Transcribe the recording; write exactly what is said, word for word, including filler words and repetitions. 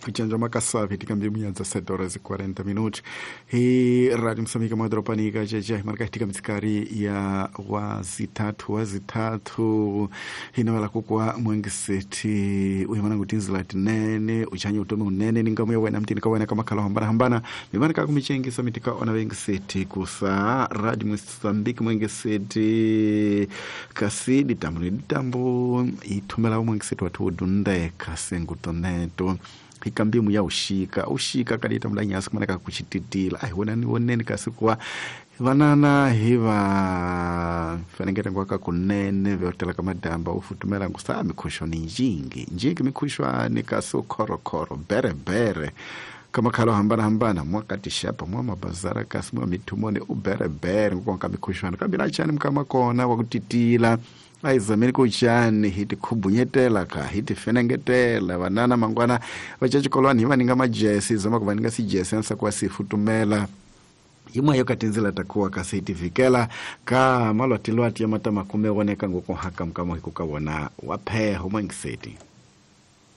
Kuchanjwa makasavi tikambi munyanza sete horas e quarenta minutos hi Radio Moçambique madropanika jeje marka tika mitsikari ya wazithathu wazithathu hinawela kukwa mwengiseti uyimana ngutinzila tinene uchanya utome unene ningamu ya wena mtini kawena kama kala hambana hambana mimana kakumichengisa mitika ona wengiseti kusa Radio Moçambique mwengiseti kasi ditambo ni ditambo ithumela mwengiseti wathu udunde kasi ngutoneto ikambimu ya ushika ushika kalita mlanyasi kumaneka kuchititila ai wonani woneni kasi kuwa vanana hiva fanengete ngwaka kunene vyotela kamadamba ufutumela ngusa mikhushwa ni njingi njingi mikhushwa ni kasi ukhorokhoro berebere kamakhalo hambana hambana mwakatishapa mwa mabazara kasi mwa mithumoni uberebere ngukonka mikhushwana kambi nachani mkamakona wakutitila aizameni kuchani hiti khubunyetela ka hiti fenengetela vanana mangwana vachachikolwani hivaninga majesi zama kuvaninga sijesi ansa kuwa sifutumela imwe yo katinzila takuwa kasi hitivikela ka malwatilwati ya mata makume woneka ngukuhaka mkamo hikukawona wapheho mwangiseti.